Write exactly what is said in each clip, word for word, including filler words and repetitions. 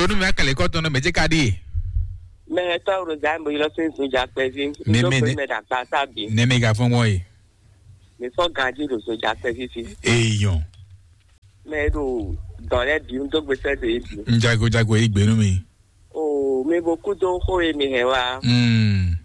Onu mi akɛlɛ kɔ tɔn mɛ jɛ ka di. Mɛ tɔ ro za mo yɔ sin zun ja kpɛ vi. Nɛ mɛ nɛ mɛ da kpa sa bi. Nɛ mɛ ga fɔn mɔ ye. Mi sɔ ganji ro zun ja kpɛ vi fi. Eyɔn. Mɛ do dɔn lɛ bi n do gbesɛ de bi. N jago jago yi gbenu mi. O mi bo kudo xo e mi hɛ wa. Mm.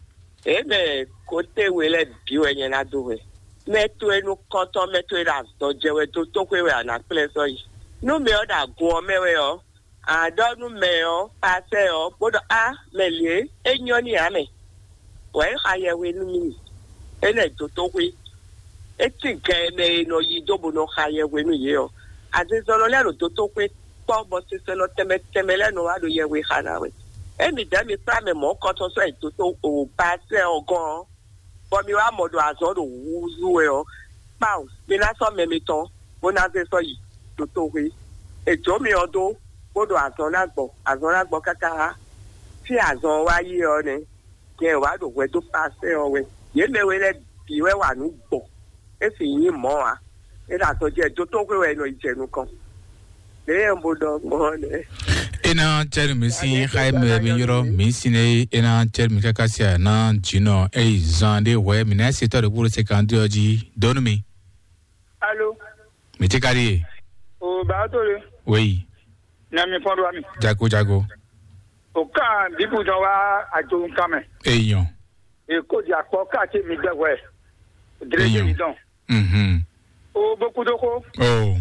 E mɛ kote we lɛ bi wɛ nyɛ na do wɛ. Mɛ to e nu kɔntɔn mɛ to e da dɔ jɛ wɛ do to xwe wɛ a na kplɛ sɔ yi. Nu mɛ ɔ da gun ɔ mɛ wɛ ɔ. Aɖɔ nú mɛ ɔ́, pasɛ ɔ́, bó ɖɔ: "Á, mɛ lě, é nyɔ́ n'i ǎ mɛ, bɔ é xa yɛhwe nú mì, é nɛ́ dó tó xwé." É tín gɛ mɛ e nɔ yí dó bó nɔ xa yɛhwe nú yě ɔ́, azinzɔnnɔ lɛ́ɛ ɖo dó tó xwé kpɔ́, bɔ sinsɛnnɔ tɛnmɛ tɛnmɛ lɛ́ɛ nɔ wá ɖo yɛhwe xa ná wɛ. Émí dɛ̌ mi kplá mɛ mɔ̌ kɔtɔn sɔ́ yi dó tó o pasɛ ɔ́ gɔ́n ɔ́, bɔ mi wá mɔ ɖo azɔ̌ ɖo húzú wɛ ɔ́, kpawun, mi ná sɔ́ mɛ mitɔn, bó ná zé sɔ́ yi ɖo toxwé. È jǒ mi ɔ́ dó, bó ɖo azɔn ná gbɔ, azɔn ná gbɔ káká. Fí azɔn ɔ́ wá yi ɔ́ nɛ́, nyɛ wǎ ɖo hwɛ dó pasɛ́ ɔ́ wɛ. Yě mɛ we lɛ́ɛ bǐ wɛ wa nǔ gbɔn, é sì nyí mɔ̌ ǎ. É ɖo azɔn jɛ dó toxwé wɛ è nɔ yi jɛ nukɔn. Lě e un bo ɖɔ gbɔn ɔ́ nɛ́. Ena cɛri mi sin xayi mɛ mi yɔrɔ mi sin ne ena cɛri mi kaka sia na jinɔ eyi zan de hwɛ mi na se tɔ de kuro se kan de ɔji donu mi. Alo. Mi ti kari ye. O ba to le. Weyi. Na mi fɔn do ami. Jago jago. O kan bibu dɔn wa ajo kan mɛ. Eyan. E ko di akpɔ ka ti mi gbɛ hwɛ. Dre Eyan. Mi dɔn. Mhm. O bo kudo ko. Oh.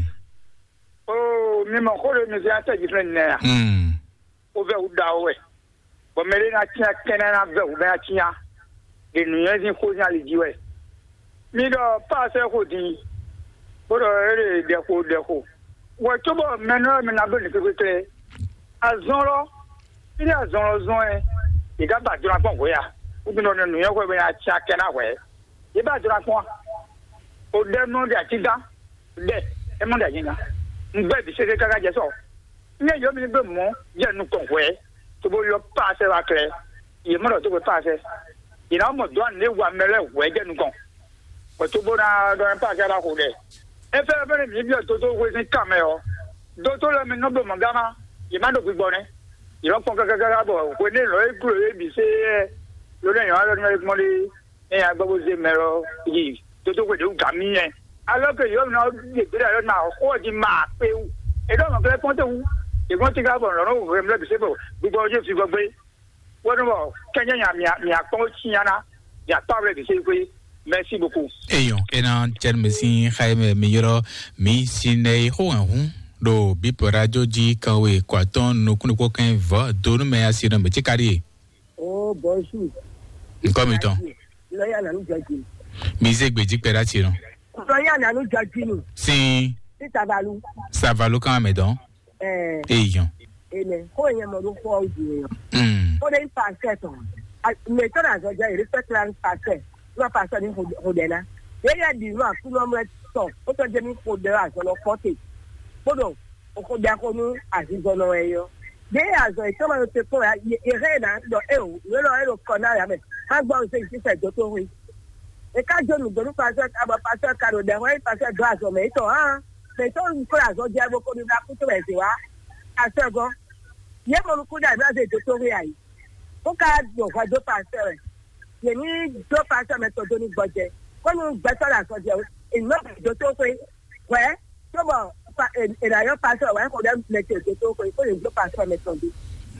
Oo, mi mɔ xó ɖé mi zɛ́n atɛ́ jí fɛn nɛ a? Mm. Ó vɛ́ wǔ ɖawo wɛ, bɔ mɛ ɖé ná cyán kɛ́nɛ́ ná vɛ́ wǔ bɛ́ ná cyán, ɖe nǔnywɛ́ sín xó sín ali jí wɛ. Mi ɖɔ pá sɛ́ xo din, bó ɖɔ é ɖe ɖɛxo ɖɛxo. Wɛ cóbɔ mɛ nɔ mi ná bló nǔ kpékpékplé. Azɔn lɔ, fí ɖé azɔn lɔ zɔn ɛ, yě ká ba jlɔ́ akpɔ́n hwě a? Wútu nɔ nǔnywɛ́ xwɛ bɛ́ ná cyán kɛ́ ná hwɛ. Yě ba jlɔ́ akpɔ́n a? O ɖɛ nɔ ɖe atígán. Ɖɛ, é mɔ ɖe anyigba. Un gbɛ vǐ sɛsɛ káká jɛ sɔ. Nyɛ yɔ mi gbé mɔ jɛ nukɔn hwɛ, to bó yɔ paasɛ wá klɛ. Yě mɔ ɖɔ tó gbé paasɛ. Yě ná mɔ dɔ̌ ne wa mɛ lɛ́ɛ hwɛ jɛ nukɔn. Bɔ tó bó ná ɖɔ paasɛ wá xo ɖɛ. É fẹ́ fẹ́ mi byɔ́ dótó hwe sín kan mɛ ɔ́. Dótó lɛ́ɛ mi nɔ bló mɔ̌ gán má. Yě má ɖo gbigbɔ nɛ́. Yě nɔ kpɔn kákákáká bɔ hwenɛ́ lɔ̌ e glo é bǐ sé yɛ. Ló nɛ nyɔ̌ alɔ nú ɛ gbɔn ɖe. Nya gbɔ bó zé mɛ lɔ yi dódó xwe ɖě wú gǎ mì nyɛ. Alɔ ke yɔ nɔ ɖe gbé ɖe alɔ na xɔ di ma kpe wú. E ɖɔ nɔ kle kpɔn te wú. E gbɔn ti ka bɔ nɔ nɔ hwɛ mlɛ bi se bɔ gbogbo je fi gbɔ gbé. Wo nɔ bɔ kɛnyɛ nya mia mia kpɔn ci nya na. Ya kpa wle bi se kwe. Merci beaucoup. Eyɔn ena cɛn mi sin xayi mɛ mi yɔrɔ mi sin ne xo hɛn hun ɖo bipɔ radio ji kan we kɔ atɔn nukun kpɔkɛn vɔ donu mɛ asi nɔ mɛ ti ka ɖi ye. Oh, bonjour. Nkɔ mi tɔn. Lɔya nanu jɔji. Mi ze gbeji kpɛ ɖe asi nɔ. Lɔya nanu jɔji nu. Sin. Sita balu. Savalu kan mɛ dɔn. Ɛɛ. Eyɔn. Ene. Ko yɛ mɔ ɖo xɔ o di yɔ. Mm. Ko de pasɛ tɔn. Mɛ tɔ na zɔ jɛ respect la pasɛ. N'o pasɛ ni xo dɛ na. Ye yɛ di n'o akunɔ mɛ tɔ. O tɔ jɛ mi xo dɛ azɔ lɔ kɔte. Kpoɖo o xo dɛ ko nu azizɔ nɔ wɛ yɔ. Ɖe azɔ etɔ́ ma ɖo te kpɔ́n ya, yě hɛn ná ɖɔ eo, nǔ élɔ́ é ɖo kɔ ná ya mɛ. Má gbɔ ose sísɛ dó tó hwe. E ká jó nǔ dó nú pasɔ ká bɔ pasɔ ka ɖo ɖɛ hwɛ pasɔ dó azɔ mɛ tɔn hã. Mɛ tɔn nu kó azɔ jɛ bó kó nu ɖa kú tó wɛ zě wá. Pasɔ gɔ́. Yě mɔ nukú ɖe àbí azɔ dó tó hwe ayi. Kó ká ɖo hwɛ dó pasɔ wɛ. Yě ní dó pasɔ mɛ tɔn dó ní gbɔjɛ. Kó nu gbɛtɔ ɖe azɔ jɛ o. Èmi má dó tó hwe. Hwɛ. Tó bɔ pa e e ɖa yɔ pasɔ wɛ ko ɖe mɛ tɔn dó tó hwe. Kó lè dó pasɔ mɛ tɔn dó.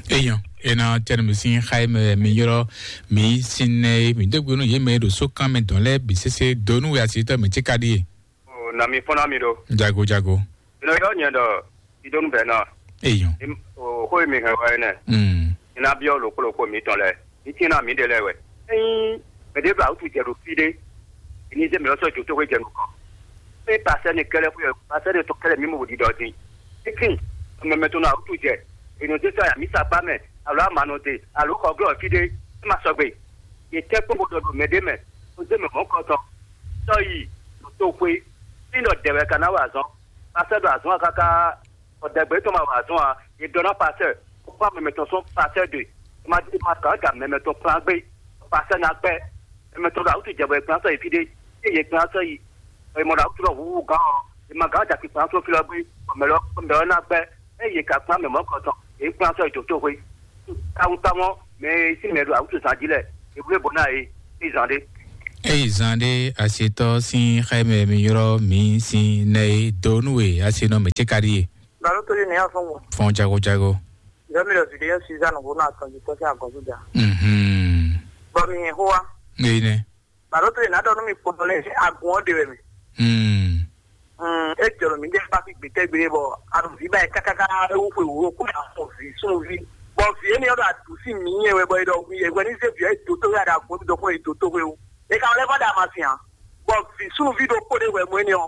Eyɔn ena tɛnu mi sin xayi mɛ mi yɔrɔ mi sin nɛ mi dó gbenu yé mɛ ɖo so kan mɛ dɔn lɛ bi sese donu wɛ asi tɔ mi ti ka ɖi ye. O na mi fɔn na mi ɖo. Jago jago. Ino yɔ nyɛ ɖɔ idonu bɛ na. Eyɔn. O xo mi hɛn wɛ nɛ. Mm. Ina biɔ lo kpolo ko mi tɔn lɛ. Ni tina mi de lɛ wɛ. Eyin mɛ de ba utu jɛ ɖo fi de. Ni de mi lɔ sɔ jo to ko jɛ nukɔn. Pe pasɛ ni kɛlɛ ko yɛ pasɛ ni to kɛlɛ mi mo di dɔ di. Ekin mɛ mɛ to na utu jɛ. Ino de sɔ ya mi sa kpa mɛ. Alo ama nɔ de. Alo xɔ glɔ fi de. E ma sɔgbe. Ye tɛ kpɔn ko dɔ do mɛ de mɛ. O de mɛ mɔ kɔtɔ. Sɔ yi. To xwe. Fi dɔ dɛ wɛ ka na wa azɔn. Pasɛ do azɔn kaka. Ɔdɛgbɛ tɔn ma wa azɔn a, e dɔ na pasɛ, kpɔn mɛmɛ tɔn sɔn pasɛ de, ma di ma gǎn da mɛmɛ tɔn kplán gbé, pasɛ na gbɛ, mɛmɛ tɔn ɖo awutu jɛ bɔ e kplán sɔ yi fi ɖé, e yě kplán sɔ yi, e mɔ ɖo awutu lɔ huhu gán ɔ, e ma gǎn da kpi kplán sɔ fi lɔ gbé, mɛ lɔ mɛ lɔ na gbɛ, e yě ka kplán mɛ mɔ̌ kɔtɔn, yě kplán sɔ́ yi dǒtoxwé. Tawun tamɔ mɛ e sín mɛ ɖo awǔtuzan jí lɛ, è bló bɔ ná yě, é zan ɖé. Eye zan ɖé asetɔ sín xɛmɛ mi ylɔ́ mi sín nɛ e dó nú e asenɔ mɛ ce ka ɖíe. Balo tó yé ní afɔn wò. Fɔn jago jago. Yɔ mi lɔ zùdí yẹn Suzanne wò náà tɔn jù tọ́sí àgọ́sùdà. Mhm. Bɔ mi yẹn hó wa. Eyi nɛ. Balo tó yé ná dɔ nú mi kpɔtɔ lɛ agun ɔ́ de wɛ mi. Hmm. Mm, e jɔrɔ mi ɖe ba fi gbetɛgbe bɔ aɖo vi ba yi kakaka ewu xwe wo ko ya xɔ vi sunvi. Bɔ vi eni ɔdɔ adu si mi yɛ wɛ bɔ edɔ yɛ wɛ ni ze vi ɛ do to ya da ko do ko edo to xwe o. E ka lɛ va da ma si hã. Bɔ vi sunvi ɖo kpo ɖe wɛ mo eni ɔ.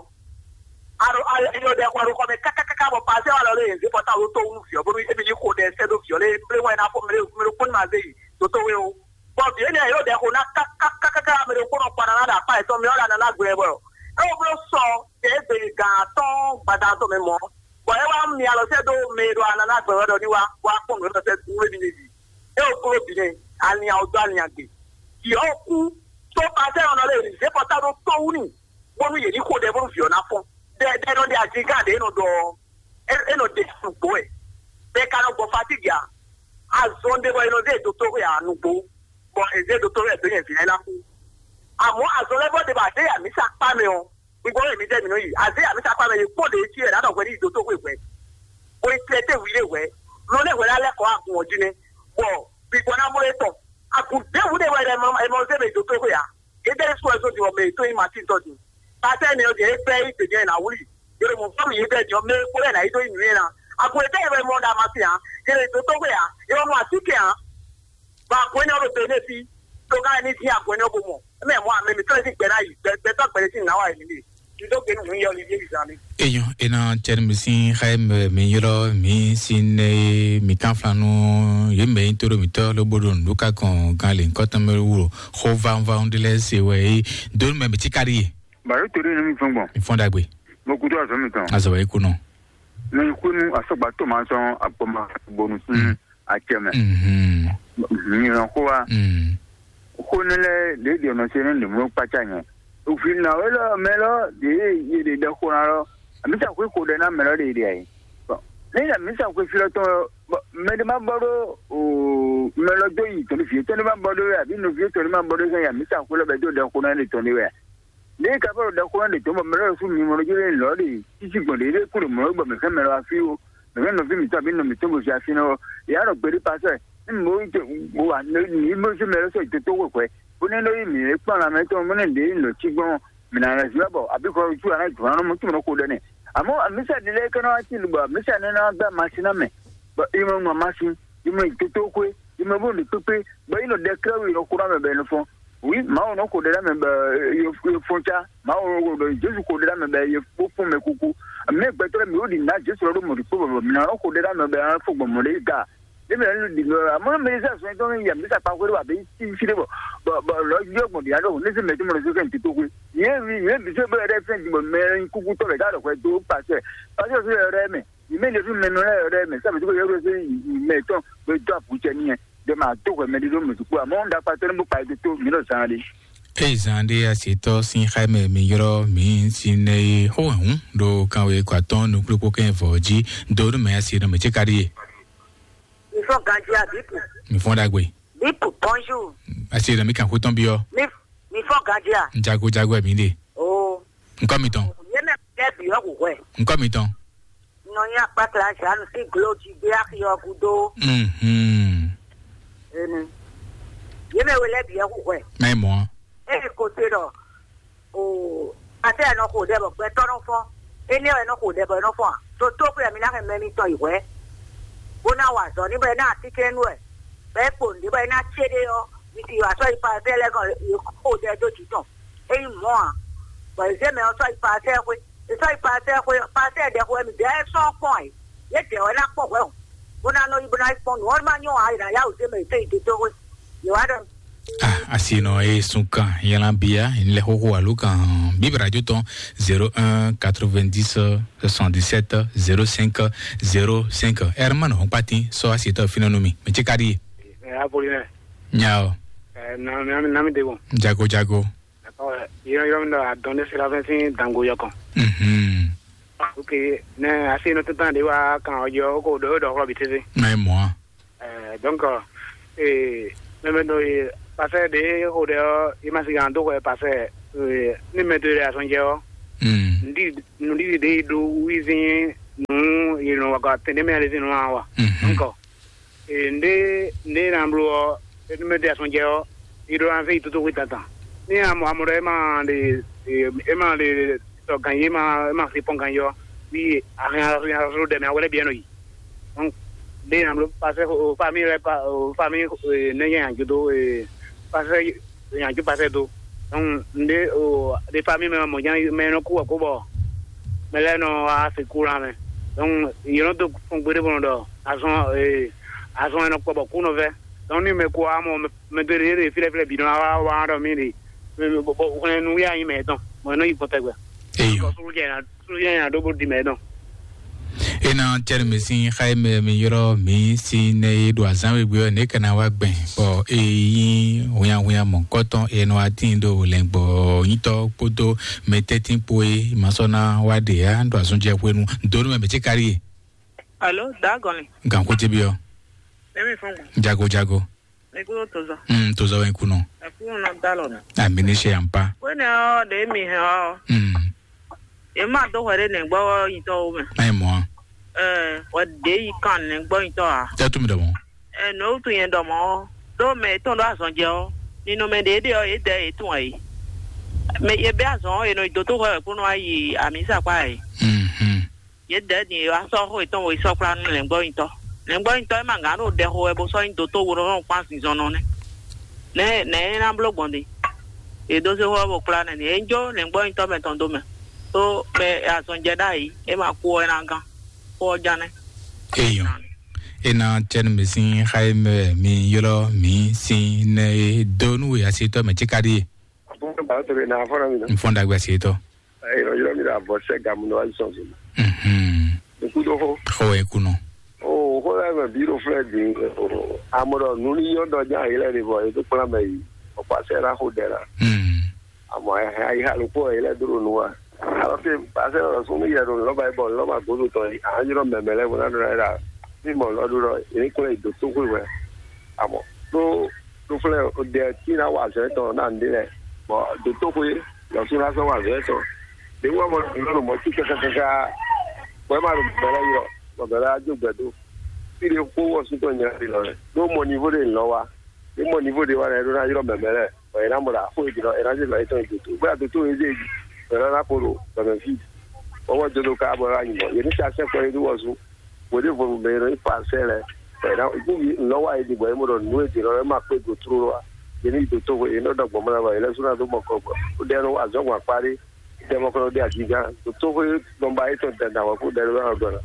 Aɖo ayɔ ɖe xɔ ɖo xɔ mɛ kakaka bɔ pase wa lɔ le yɛn ze pɔta wo to wu vi ɔ bɔ ebi yi xo ɖe sɛ do vi ɔ le mle wɛ na fɔ mle mle kpo ni ma ze yi do to xwe o. Bɔ vǐ énɛ́ ɔ́, yě ɖo ɖɛ xo ná kákákáká mɛ ɖokpónɔ kpó ananá ɖo akpá yětɔn mɛ ɔ́ ɖo ananá gbɛ wɛ. É wɔ bló sɔ tɛ é gbe gan atɔ́ɔ́n gbadanu tɔn mɛ mɔ̌, bɔ é wá mi alɔ sɛ́ dó mɛ e ɖo ananá gbɛ wɛ ɖɔ ní wá, bó wá kpɔ́n nǔ e nɔ sɛ́ nú émí n'i jí. É wɔ bló bǐ nɛ́, alinnya ɔ́ dó alinnya gbe. Vǐ ɔ́ kú, tó pasɛ́ ɔ́ nɔ lé zě bɔ tá ɖó tó wú n'i, bónú yě ní xo ɖɛ bónú vǐ ɔ́ ná fɔ́n. Ɖɛ ɖɛ nɔ ɖe azǐngán ɖě é nɔ ɖɔ ɔ́, é é nɔ ɖe nǔgbó wɛ. Bɔ è ka nɔ gbɔ fatígi ǎ. Azɔn ɖé bɔ è nɔ zé dotó xwe ǎ nǔgbó. Bɔ è zé dotó xwe ǎ dó nyɛ vǐ lɛ́ɛ ná kú. Àmọ́ azɔn lɛ́ɛ bɔ ɖé bɔ a zé yi amǐsa kpá mɛ ɔ́, gbígbó wɛ mǐtɛ́ mǐ nɔ yi. A zé yi amǐsa kpá mɛ yi kpɔ́n ɖě cí wɛ nǎ ɖɔ hwɛ ní yi dotó xwe hwɛ. Bó yi tlɛ té wǐ ɖé hwɛ. Nɔ lɛ́ hwɛ ná lɛ́ kɔ agun ɔ́ jí nɛ́. Bɔ gbígbó ná mɔ é tɔn. Agun ɖěbǔ ɖé wɛ è mɔ zé mɛ yi dotó xwe ǎ. Yědɛ́ sɔ́ ɛ sɔ́ din bɔ mɛ yětɔn nyí Matín tɔ́ din. Pasɛ́ énɛ́ ɔ́ din, é gbɛ́ yí gbějɛ ná wlí. Yě ɖo mɔ̌ fɔ́n mì yědɛ́ din ɔ́, mɛ e kpo lɛ́ɛ ná yi dó nyi nǔ nyi ná. Agun yětɔn nyí wɛ mɔ ɖo Amasí ǎ. Yě ɖo dotó xwe ǎ. Yě wɔ nú así kɛ ǎ. Bɔ agun énɛ́ ɔ́ ɖo Benɛ́si. Tó ká ní dín agun énɛ́ ɔ́ bó mɔ. É mɛ mɔ amɛ mǐtɔn lɛ́ɛ sín gbɛ ná yi. Gbɛ gbɛtɔ́ gbɛɖé sín nǎ wa yě lě. Eyɔn, ena cɛn mi sin xɛ mi yɔrɔ mi sin ne mi kan flanu ye mɛ yin toro mi tɔ lo bodo nuka kɔn gan le nkɔtɔn mɛ wuro xo vanvan de lɛ se wɛ yi donu mɛ mi ti kari ye. Baro tori ne mi fɛn gbɔn. Mi fɔn dagbe. Mo kudo azɔ mi tɔn. Azɔ wɛ kunɔ. Mi kunu asɔgba to ma sɔn akpɔma bonu sin. Acɛ mɛ. Mhm. Mi yɔn ko wa. Mm. Xó nɛ́ lɛ́ɛ ɖě ɖi ɔnɔ ce nú nǔmló kpácá nyɛ. Òfin nǎwe lɔ mɛ lɔ ɖě yě ɖe ɖɛ xó ná lɔ, amǐsa xwé xo ɖɛ ná mɛ lɔ ɖě ɖe ayǐ. Bɔn ní amǐsa xwé fí lɔ tɔn lɔ, bɔn mɛ ɖé má bɔ ɖó mɛ lɔ dó yi tɔn ní fí tɔn ní má bɔ ɖó wɛ, àbí nɔví tɔn ní má bɔ ɖó sɛn amǐsa xwé lɔ bɛ dó ɖɛ xó ná ɖe tɔn ní wɛ. Ní ka fɔ ɖɔ xó ná ɖe tɔn bɔ mɛ lɔ sú mi mɔ lɔ jó lɔ ɖe títí gbɔn ɖě ɖé kú ɖo mɔ lɔ bɔ mɛ fɛn mɛ lɔ afí o. Mɛ nɔví mǐtɔn àbí nɔ mǐtɔn bó fi afi nɔ, yǎ nɔ gbeɖé pasɛ ní mò ń jẹ wà ní mò ń sún mɛ lọ́sọ̀ ìtòtò wò pẹ́. Bó ní lóyún mì é kpọ́n la mẹ́tọ́ mọ́ ní ndé ń lọ tí gbọ́n mì nà lọ sí wá bọ̀ àbí kọ́ ojú àná jù wọn mọ́ tí mo kó dẹ́nẹ̀. Àmọ́ àmísà nílé kẹ́nà wá sí ìlú bọ̀ àmísà ní náà gbá màsí náà mẹ́. Bọ̀ ìmọ̀ nù àmásí, ìmọ̀ ìtòtò kwé, ìmọ̀ bó ní pépé, bọ̀ ìnà dẹ́kẹ́rẹ́ wì lọ kúrò àmì bẹ́ẹ̀ ní fún. Wi, Mawu nɔ xo ɖe ɖe ame be ye ye fɔn ca. Mawu nɔ xo ɖe Jesu xo ɖe ɖe ame be ye kpó fún mɛ kuku. Mɛ gbɛtɔ́ mi wo ɖi na Jesu lɔ ɖo mɔ ɖi kpó bɔbɔ mi na nɔ xo ɖe ɖe ame be an fɔ gbɔn mɔ ɖe ga. Ne mi nu ɖi nɔ amɔ mi sa sɔn tɔn ya mi sa kpa xwe ɖe wa be ti fi ɖe bɔ bɔ bɔ lɔ yɔ gbɔn ɖi aɖo ne se mɛ to mɔ ɖe so kɛ n ti to xwe. Ye mi ye bi se be ɖe fɛn di bɔ mɛ kuku tɔ bɛ ga ɖɔ xwe do pasɛ pasɛ so yɛ ɖe mɛ. Yi mɛ ɖe fún mɛ nɔ lɛ yɔ ɖe mɛ sa mɛ to ko yɔ ɖe se mɛ tɔn be do apu cɛ ni yɛ. Ɖe ma to hwɛ mɛ ɖi ɖo mɛ sukpɔ amɔ ɖakpatɔ ne bó kpa yi to mi ɖo zan ɖe. Eye zan ɖe asetɔ sin xaimɛ mi yrɔ mi sin ne ye xó hɛn ɖo kanwe kɔ atɔn nukplokpo kɛ vɔ ji do nu mɛ asi nɔ mɛ ce ka ɖi ye. Mi fɔ ganji a bipu. Mi fɔ dagbe. Bipu, bonjour. Asi nɔ mi kan xó tɔn biɔ. Mi mi fɔ ganji a. Jago jago mi de. Oh. Nkɔ mi tɔn. Ye mɛ kɛ biɔ hu hwɛ. Nkɔ mi tɔn. Nɔ nyi akpakla Jeanne sín glo jí gbé axi ɔ́ gúdo. Mhm. Enu. Yě mɛ we lɛ́ɛ bǐ wɛ hu hwɛ. Mɛ mɔ. Eye ko se ɖɔ o ate ɛ nɔ xo ɖɛ bɔ gbɛtɔ́ nɔ fɔ́n. Énɛ́ wɛ nɔ xo ɖɛ bɔ é nɔ fɔ́n a? Toto xwe mi ná hɛn mɛ mitɔn yi hwɛ. Bó ná wa azɔ̌ ní bɔ é ná atínkɛ́nnú wɛ. Bɔ é kpo nǔɖé bɔ é ná cé ɖé ɔ́, mi ti wa sɔ́ yi pa ɛfɛ lɛ́ɛ gɔn xo ɖɛ dó jǐ tɔn. É nyí mɔ̌ a? Bɔ è zé mɛ ɔ́ sɔ́ yi pa ɛfɛ xwé. È sɔ́ yi pasɛ xwe pasɛ ɖɛ xwe mi dɛɛ sɔ́ kpɔn ɛ. Yé dɛ wɛ ná kpɔn hwɛ o. Bó ná nɔ yi bó ná yi kpɔn nǔ ɔ́ má nyɔ́ ǎ, yě ná yá wǔ zé mɛ yě tɛ́ yi dó dó xwe. Yě wá ɖɔ. Ah, asi nɔ ye sun kan yɛlɛ bia n lɛ xoxo alo kan bibra jo tɔn zéro un quatre-vingt-dix soixante-dix-sept zéro cinq zéro cinq. Herman Hɔnkpatin sɔ asi tɔ finɛ nu mi mi tsi ka di. Ɛ abolí nɛ. Nya o. Ɛ nami nami de bɔ. Jago jago. Yɔrɔ yɔrɔ mi dɔ adɔn ne sira fɛn sin dango yɔ kɔn. Mhm. Ok, nɛ asi nɔ tɛtɛn ɖe wá kan ɔjɔ ko ɖo ɖɔ xlɔ bi tete. Na e mɔ a? Eh, donc, eh, mɛmɛ do e pasɛ ɖe xo ɖe ɔ, i ma si gan do xɔ pasɛ, eh, ni mɛ do e asɔnjɛ ɔ. Mm. Ndi ndi de do wizin nu, you know, wa tende mɛ ale zin wa. Mhm. Donc, eh, nde nde na blo ɔ, ni mɛ do e asɔnjɛ ɔ, i ɖo anfɛ i toto xwe tantan. Ni amɔ amɔ ɖɔ e ma le, e ma le tɔ gan ye ma e ma si pɔn gan yɔ, wi ahɛn ahɛn ahɛn ɖɛ mɛ awɛlɛ biɛ nɔ yi. Donc, ɖe na blo pasɛ o famille lɛ pa o famille, ne yɛ yan judo e pasɛ yan ju pasɛ do. Donc, nde o de famille mɛ mɔ jan mɛ nɔ ku ko bɔ mɛ lɛ nɔ a se ku la mɛ. Donc, yɛ nɔ do fɔn gbede bɔ nɔ dɔ azɔn e azɔn e nɔ kpɔ bɔ ku nɔ vɛ. Donc, ni mɛ ko amɔ mɛ de de filɛ filɛ bi nɔ wa wa dɔ mi de. Bɔ hwlɛn nu ya nyi mɛ tɔn mɔ nɔ yi kpɔtɛ gbɛ. Eyo. Sulu jɛ na sulu jɛ na ɖo bó di mɛ tɔn. Ena tɛnumɛ sín xá e mɛ mi ylɔ́ mǐ sín nɛ e ɖo azǎn wegbe ɔ́, nɛ̌ ka ná wá gbɛn, bɔ e nyí hwinnyahwinnya mɔ̌hunkɔtɔn e nɔ wá tíin ɖo lɛ̌ngbɔ́ nyítɔ́ kpódó mɛtɛ́ntin kpó e ma sɔ́ ná wá ɖe ǎ ɖo azɔn jɛ hwenu dó nú mɛ mɛ ce káɖí e? Alo, dǎgɔnlin. Gǎn xwé ce byɔ́. Emi fɔn gbɔn. Jago jago. Ekúrò tozɔ. Mm, tozɔ wɛ kú nɔ. Ekúrò nɔ dá lɔ nɔ. Amini ṣe yampa. Wéne ɔ ɖe mi hɛn ɔ. Mm. Ema do hwɛ ɖe nɛgbɔ nyitɔ wo mɛ. Ayi mɔ. Ɛ, wɛ ɖe yi kan nɛgbɔ nyitɔ a. Tɛ tu mi dɔ mɔ. Ɛ, nɔ wutu yɛn dɔ mɔ. Do mɛ etɔn ɖo azɔn jɛ ɔ. Ninu mɛ ɖe ɖe ɔ, ye dɛ ye tun ɛ yi. Mɛ ye bɛ azɔn ɔ, ye nɔ yi do to hwɛ wɛ kúnú ayi ami sakpa ɛ. Mhm. Yě dɛ̌ din e wá sɔ́ xó yětɔn wo yi sɔ́ kplá nú lɛ̌ngbɔ́nyitɔ́. Lɛ̌ngbɔ́nyitɔ́ e ma gǎn ɖo ɖɛ xo wɛ bó sɔ́ nyí dotó wo nɔ kpán zinzɔnnɔ nɛ́. Nɛ̌ nɛ̌ é ná bló gbɔn din? Yě dó zé xó ɔ́ bó kplá nɛ́ din. É ń jó lɛ̌ngbɔ́nyitɔ́ mɛ tɔn dó mɛ. Tó mɛ azɔn jɛ ɖ'ayǐ, é ma kú ɔ́, é ná gán. Xó ɔ́ ján nɛ́. Eyɔn. E na cɛnu mi sín xá e mɛ mi ylɔ́ mi sín nɛ e dó nú we asitɔ́ mɛ cíká ɖíe. Àbúrò bàbá tó lè nà afọ́nà mi nà. N fɔ́n dàgbà sí tọ́. Ẹ̀yin ọ̀yọ́ mi là bọ̀ sẹ́ gàmù náà wájú sọ̀rọ̀ mi. Mhm. Ikú tó hó. Xɔ ẹ kú nọ. O hó lẹ́ mẹ̀ bí ló fẹ́ di. Amọ̀dọ̀ nu ní yọ̀dọ̀ já yìí lẹ́ ní bọ̀ ètò kplá mẹ́ yìí. Ọ̀pá sẹ́ rà hó dẹ̀ la. Mhm. Àmọ́ ẹ̀ ẹ̀ ayé alùpùpù yìí lẹ́ dúró nu wa. Alọ́ fi pàṣẹ ọ̀rọ̀ sún ní yẹ̀rù lọ́ba yìí bọ̀ lọ́ba gbódò tán yìí. Àwọn yọ̀rọ̀ mẹ̀mẹ́ lẹ́ wọn náà dúró yìí la. Bí mọ̀ lọ́dún lọ, èyí kúnlẹ̀ ìdòtó hó ìwẹ̀. Àmọ́ tó tó flɛ o dɛ tí na wa azɔn tɔn na nde lɛ, bɔn dotoxwe lɔsu na sɔ wa azɔn tɔn de wɔ mɔ lɔnu mɔ tí kaka kaka bɔn ema ɖo bɛlɛ yɔ bɔn bɛlɛ adzo gbɛ do fi de kó wɔ sutɔ nyina de lɔ lɛ do mɔ nivo de lɔ wa de mɔ nivo de wa lɛ do na yrɔ mɛmɛ lɛ bɔn yina mɔ la fo edi lɔ yina de lɔ etɔn edzo to bóyá doto yeze edi bɛlɛ na kpo do bɛmɛ fi bɔn wɔ dzo do ka bɔ yɔ anyi bɔ yeni sa sɛ kɔ yedi wɔ su. Wòlíì vo mɛ e nɔ nyí Farisɛɛ lɛ́ɛ, bɔ è nǎ kú nǔ wa è ɖi bɔ é mɔ ɖɔ nǔ e jǐ nɔ lɛ́ɛ ma kpé go tlóló ǎ. Yě ní yi dǒ toxo, yě nɔ ɖɔ gbɔn mɔ lɛ́ɛ bɔ yě lɛ́ sú ná dó mɔ kɔ gbɔ. Ó ɖɛ nú azɔ̌ gbɔn akpá ɖé, é ɖɛ mɔ kɔ nɔ ɖe ajigán, ɖo tóxo e nɔ ba étɔn dandan wɛ kó ɖɛ ló ná nɔ gbɔn ná.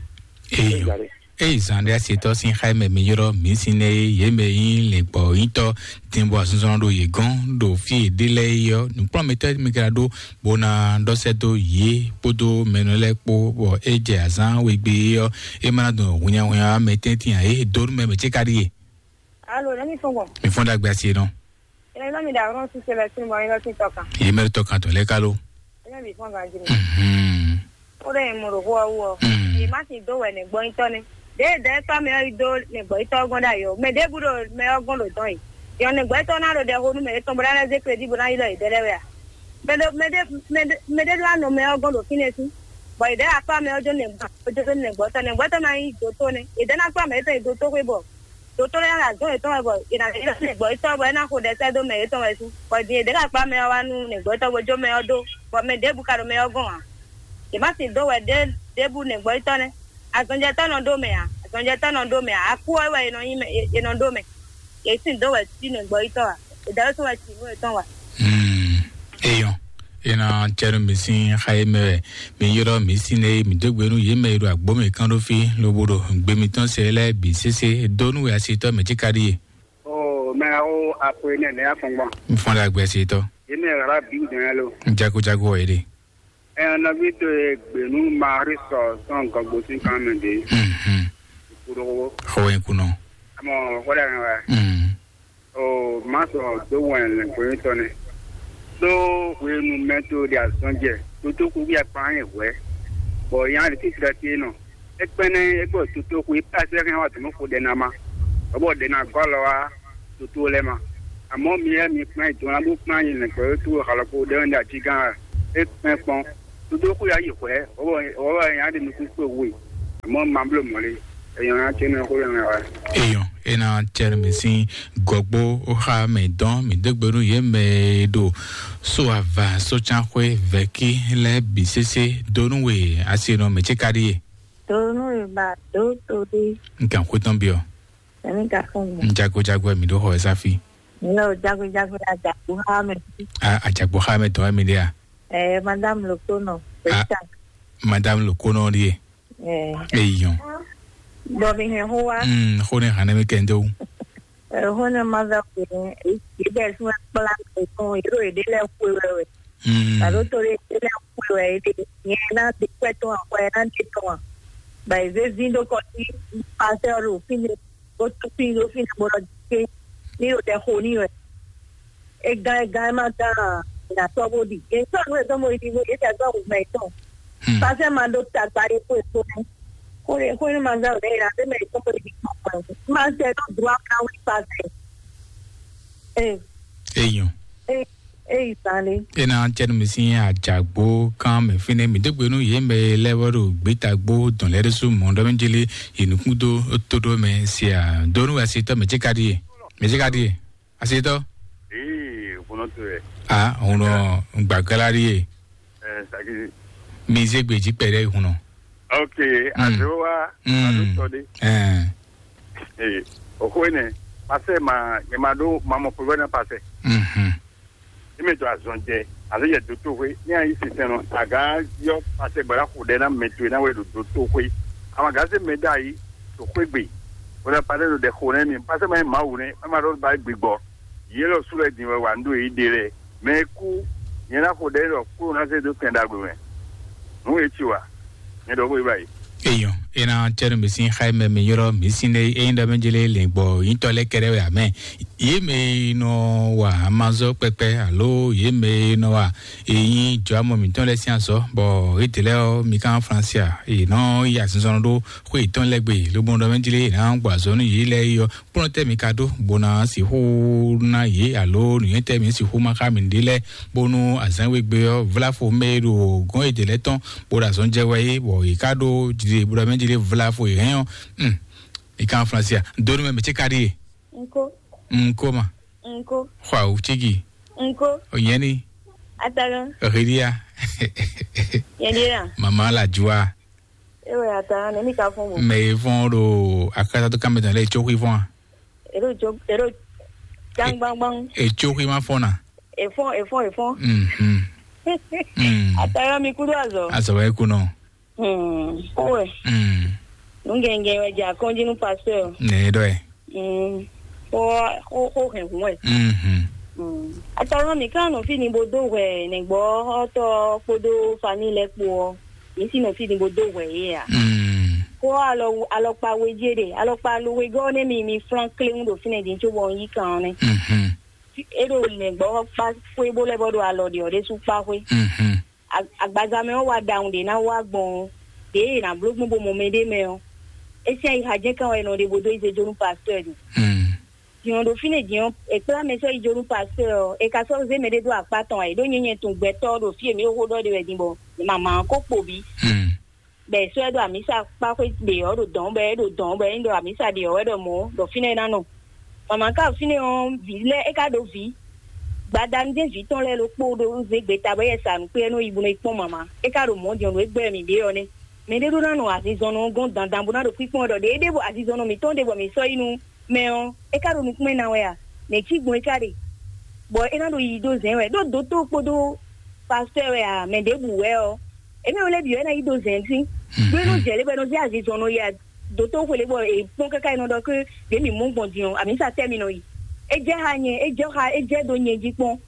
Eyo. Eyi zan ɖe asetɔ sin xá mɛ mi ylɔ mi sin ne ye me yin le gbɔ yitɔ din bɔ asunzɔn ɖo ye gɔn ɖo fi ɖe lɛ yɔ nukplɔmɛtɔ mi kra ɖo bona ɖɔ sɛ dó yě kpódó mɛnɔ lɛ́ɛ kpó, bɔ é jɛ azǎn wegbe é ɔ́, é ma ná dɔn hwinnyahwinnya mɛ tɛ́ntin ǎ, é dó nú mɛ mɛ ce ka ɖíe. Alo, nɛ́ mi fɔ́n gbɔn? Mi fɔ́n ɖagbe asi nɔ. Ene nɔ mi da ɔrɔn si sɛbɛ sin bɔ yin lɔ sin tɔ kan. Yě mɛ tɔ kan tɔ lɛ́ɛ ká ló. Ene mi fɔ́n ganji ni. Mhm. Ó ɖe mo ɖo xó ɔ́ wú ɔ. Mm. Yě má si dó wɛ nɛgbɔ́nyitɔ́ nɛ́. Ɖěe dɛ̌ tɔ́ mɛ ɔ́ yi dó nɛgbɔ́nyitɔ́ ɔ́ gɔ́n ɖ'ayǐ ɔ́, mɛ ɖěbǔ ɖo mɛ ɔ́ gɔ́n ɖo dɔ̌n e. Yɔ nɛgbɔ́nyitɔ́ ná ɖo ɖɛ xo nú mɛ yětɔn bó ná lɛ́ zé kredí bó ná yi ɖɔ yě ɖɛ lɛ́ɛ wɛ a? Mɛ ɖé mɛ ɖé mɛ ɖé mɛ ɖé ɖó anɔ mɛ ɔ́ gɔ́n ɖo fínɛ́ sín, bɔ yě ɖɛ́ akpá mɛ ɔ́ jó nɛgbɔ́ jó nɛgbɔ́tɔ́ nɛgbɔ́tɔ́ ná nyí dotó nɛ́. Yě ɖɛ́ ná kplá mɛ yětɔn yi dotó xwé bɔ dotó lɛ́ɛ ná azɔ̌ yětɔn wɛ bɔ è nǎ yě ɖɔ nɛgbɔ́tɔ́ bɔ é ná xo ɖɛsɛ́ dó mɛ yětɔn wɛ sín, bɔ din yě ɖɛ́ ka kplá mɛ ɔ́ wá nú nɛgbɔ́tɔ́ bó jó mɛ ɔ́ dó, bɔ mɛ ɖěbǔ ka ɖo mɛ ɔ́ gɔ́n ǎ. Yě má sin dó wɛ ɖě ɖěbǔ nɛgbɔ́tɔ́ nɛ́. Azɔnjɛtɔ́ nɔ ɖó mɛ ǎ, azɔnjɛtɔ́ nɔ ɖó mɛ ǎ, akú ɔ́ wɛ è nɔ nyí mɛ è nɔ ɖó mɛ. Yě sin dó wɛ cí nɛgbɔ́yítɔ́ ǎ, è dǎwe tɔn wɛ cí nǔ yětɔn wa. Hmm. Eyɔn, ena cɛnu mi sín xa e mɛ wɛ mi ylɔ́ mi sín ée mi dó gbe nú yě mɛ e ɖo agbǒ mɛ kán ɖó fí, lobo ɖo gbe mitɔn sɛ lɛ́ɛ bǐ sésé dó nú wɛ asitɔ́ mɛ cíká ɖíe. O mɛ awo apo enɛ nɛ afɔngbɔn. Mi fɔn ɖe agbe asitɔ́. Yé mɛ ɣla bí dɔn yá lo. Jago jago wɔ yé ɖe. Ɛ nɔvi to ye gbenu Marie sɔ sɔn gɔgbo sin kan mɛ de. Mhm. Kuɖogo. Xɔ wɛ kunɔ. Amɔ xɔ da nɔ wɛ. Mhm. O ma sɔ do wɛn lɛ gbenu tɔ ne. Do wenu mɛ to de azɔn jɛ. Toto kuku ya kpan ye hwɛ. Bɔ yan ɖe titri ɖe tie nɔ. Ekpɛnɛ egbɔ toto ko ipa sɛ hɛn wa tɔmɔ ko ɖe na ma. Bɔ ɖe na gɔlɔ wa toto lɛ ma. Amɔ mi yɛ mi kpɛn do na bo kpɛn yi lɛ kpɛ to halɔ ko ɖe na ji gan. Ekpɛn kpɔn. Toto ko ya yi hwɛ. Bɔ bɔ ya ɖe nukun ko we. Amɔ ma blo mɔle. Eyan ya tse na ko ya wa. Eyɔn, ena tsɛrɛ mi sín gɔgbo oxa mɛ dɔn mi dégbe nú yě mɛ e ɖo so ava sócánxwé vɛ̌kí lɛ́ɛ bǐ sésé dó nú we asi nɔ mɛ ce ka ɖíe. Donu e ba do to ɖe. N kan xwé tɔn biɔ. Ɛni ka fún mi. N jago jago mi ɖo xɔ ɛ sáfi. N lɛ o jago jago ya jago ha mɛ. A ajagbo xa mɛ tɔn mi ɖe a. Ɛ madame le kono. Ah. Madame le kono ɖie. Ɛ. Eyɔn. Bɔ mi hɛn ho wa. Mm, xo ne hane mi kɛnde o. Ɛ ho ne ma za ko ne. Ibɛ sún kpla ko. Yero ede lɛ ko wɛ wɛ. Mm. Alo to ɖe ɖe lɛ́ɛ xwe wɛ é ɖe. Nyɛ ná ɖe kwɛ́ tɔn axɔ ɛ ná ɖe tɔn a. Ba yi zé zín ɖó kɔ sí pasɛ ɔ́ ɖo fínɛ́, bó tú fín ɖó fínɛ́ bó nɔ dé ní ɖo tɛ xo ní wɛ. É gán é gán é má gán a, è nǎ sɔ́ bó ɖi. È sɔ́ nǔ e tɔn bó yi ɖi bó yě tɛ gbɔ wǔmɛ tɔn. Hmm. Pasɛ ma ɖó tagba ɖé xó e kpó nɛ́. Xó e xó e ma gán wǔmɛ è nǎ ɖé mɛ tɔn bó yi ɖi kpɔ́n kpɔ́n. Ma sɛ ɖó dro ná wí pasɛ. Ee. Eyɔn. Ee. Eyi zan ɖé. Ena cɛnu mi sín ajagbo kan mɛ fínɛ́ mi dégbe nú yě mɛ e lɛ́ vɔ ɖo gbétagbó dɔn lɛ́ ɖésú mɔ̌ ɖɔ mɛ jeli yi nukún dó tó ɖó mɛ sia dó nú asitɔ mɛ ce ka ɖíe. Mɛ ce ka ɖíe. Asitɔ. Ee, vunɔ to yɛ. A, hunɔ gbàgbára ɖíe. Ɛ saki. Mi zé gbèjì pɛɖɛ hunɔ. Ok. Mm. Àdéhùn wa. Mm. Àdó sọ dé. Ɛn. Ee, oxó énɛ́, pasɛ ma nyɛ ma ɖó ma mɔ pɛ́pɛ́ ná pasɛ. Mhm. Ní mi to azɔn jɛ, alo yɛ dó tóxwé, ní a yí sinsɛn nɔ, agán yɔ pasɛ gbɛ́ ná xo ɖɛ ná mɛ towe ná wɛ ɖo dó tóxwé. Amagán se mɛ dó ayi, to xwé gbe, bó ná pasɛ ɖo ɖɛ xo nɛ mi, pasɛ ma nyɛ Mawu nɛ, má ma ɖó ba gbigbɔ. Yě lɔ sú lɛ din wɛ wà ń ɖo yě ɖe lɛ. Mɛ e kú, nyɛ ná xo ɖɛ ɖɔ kúrò ná zé dó kɛn ɖagbe mɛ. Nǔ e ci wa, nyɛ ɖɔ xó e ba yi. Eyɔn, ena cɛnu mi sín xá mɛ mi ylɔ́ mi sín ɖe ényí ɖɔ mɛ jele lɛngbɔ nyitɔ lɛ́ɛ kɛɖɛ wɛ amɛ. Yě mɛ e nɔ wa amazɔ kpɛkpɛ alo yě mɛ e nɔ wa èyí jɔ amɔ mǐtɔn lɛ́ɛ sín azɔ, bɔ édè lɛ́ɛ ɔ́ mi kan Fransia, è nɔ yi azinzɔnnɔ ɖó xwé yětɔn lɛ́ɛ gbe, lobo ɖɔ mɛ jele è nǎ gbɔ azɔ̌ nú yě lɛ́ɛ yi ɔ́, kplɔ́n tɛ́ mi ka ɖó bó ná sixú ná yě alo nǔnywɛ́ tɛ́ mi sixú ma xá mi ɖe lɛ́ɛ, bónú azǎn we gbe ɔ́ vlá fo mɛ e ɖo gɔ̌n e dě lɛ́ɛ tɔn bó ɖo azɔn jɛ wɛ é, bɔ yě ká ɖó jlé bó ɖɔ mɛ jlé vlá fo yě hɛn ɔ́. Hmm. Yě ká Fransia dó nú mɛ mɛ ce ka ɖíe. Nko. Nko ma. Nko. Xɔ awu cígi. Nko. Onyɛni. Atagan. Rídíà. Yɛn ɖíe la. Mama la jua. Ewe ata ne mi ka fɔn bo. Mɛ e fɔn ɖo akata to kame tɔn lɛ etso xui fɔn a? Eɖo jo eɖo jangbangbang. Etso xui ma fɔn na. Efɔn efɔn efɔn. Mhm. Mm. Ata yɔ mi kudo azɔ. Azɔ wɛ kunɔ. Hmm. Owe. Mm. Nungɛngɛn wɛ dza kɔnji nu pasteur. Ne ɖɔ ɛ. Mm. Xo xo xo hɛn hun wɛ. Mhm. Mm. Ata yɔ mi kan no fi ni bo do hwɛ ne gbɔ ɔtɔ kpodo famille lɛ kpo ɔ. Mi si nɔ fi ni bo do hwɛ ye a. Mm. Ko alɔ alɔkpa we je de alɔkpa lo we gɔ ne mi mi flan kle ŋu do fi ne din tso bɔ yi kan ne. Mhm. E do ne gbɔ kpa ko e bo le bo do alɔ de o de su kpa ko. Mhm. Agbaza mɛ wa da un de na wa gbɔn de na blo gbɔn bo mo me de mɛ o. E se ha je kan wa no de bo do ize jonu pasteur de. Mm. Din ɔ́ ɖo fínɛ́ din ɔ́, è kplá mɛ sɔ́ yi jó nú pasteur ɔ́, è ka sɔ́ zé mɛɖé dó akpá tɔn ǎ, è ɖó nyɛnyɛ tun gbɛtɔ́ ɔ́ ɖo fí e mǐ ɖo xó ɖɔ ɖe wɛ din bɔ mama ɔ́ ko kpo bǐ. Hmm. Bɔ è sɔ́ ɛ ɖo amǐsa kpá xwé ɖe ɔ́ ɖo dɔ̌n bɔ é ɖo dɔ̌n bɔ é nyí ɖɔ amǐsa ɖe ɔ́ wɛ ɖɔ mɔ̌ ɖɔ fínɛ́ é ná nɔ. Mama ka ɖo fínɛ́ ɔ́, vǐ lɛ́ɛ é ka ɖo vǐ. Gbadanu jɛ́n vǐ tɔn lɛ́ɛ ɖokpó ɖo zé gbeta bɔ é yɛ sa nǔ kpé é nɔ yi bo nɔ yi kpɔ́n mama. É ka ɖo mɔ̌ din ɔ́, nǔ e gbɛ́ mǐ ɖe ɔ́ nɛ́. Mɛɖé ɖó ná nɔ azinzɔnnɔ ɔ́ gɔ́n dandan bó ná ɖo kpíkpɔ́n ɖɔ ɖě é ɖe bo azinzɔnnɔ mǐtɔn ɖe bɔ mǐ sɔ́ yi nú mɛ ɔ́, é ka ɖo nukúnmɛ ná wɛ a? Nɛ̌ cí gbɔn é ka ɖe? Bɔ é ná ɖo yiyi dó zɛ̌n wɛ, ɖó dotó kpódó pastɔ́ wɛ a, mɛ ɖěbǔ wɛ ɔ́, émí wɛ lɛ́ɛ bǐ wɛ ná yi dó zɛ̌n sín. Ɖó é nɔ jɛ lě bɔ é nɔ zé azinzɔnnɔ yi a, dotó xwele bɔ è kpɔ́n káká é nɔ ɖɔ ké ɖě mǐ mɔ gbɔn din ɔ́, amǐsa tɛ́ mi nɔ yi. É jɛ xá nyɛ, é jɛ xá, é jɛ dó nyɛ jí kpɔ́n.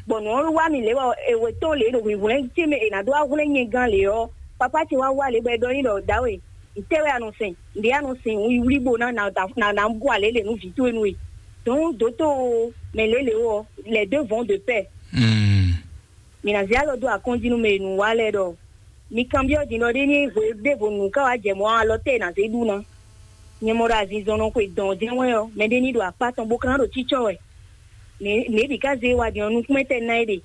Bɔ nǔ ɔ́ wá mi lě bɔ è wɛ tɔn lě ɖo hwǐhwlɛ́n ce mɛ è nǎ dó wá hwlɛ́n nyɛ gán lě ɔ́, papá ce wá wá lě bɔ é ɖɔ n'i ɖɔ dǎwe, ntɛ́ wɛ a nɔ sɛn? Nɖě a nɔ sɛn wǔyíwlí bó ná na na na bú alě lě nú vǐ towe nú we. Donc dǒtó mɛ lě lě ɔ́, les deux vont de pair. Mǐ ná zé alɔ dó akɔ́njí nú mɛ e nǔ wa lɛ́ɛ ɖɔ Mi kanbyɔ́ din ɖɔ ɖé ní hwe ɖěvo nǔ ká wá jɛ mɔ̌ alɔ tɛ́ è nǎ zé ɖu ná. Nyɛ mɔ ɖo azinzɔnnɔ xwe dɔn jɛ́n wɛ ɔ́, mɛɖé ní ɖo akpá tɔn bó ka ná ɖo cícɔ wɛ. Nɛ̌ bǐ ká zé wa din ɔ́, nukúnmɛ tɛ́ ná é ɖe.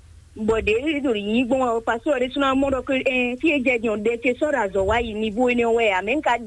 Bɔ ɖě ɖo yǐyí gbɔn wɛ ɔ́, pasúɔ ɖésú ná mɔ ɖɔ ké ɛn fí e jɛ din ɔ́, ɖɛ ce sɔ́ ɖo azɔ̌ wá yi nivo énɛ́ wɛ ǎ, mɛ̌ un ka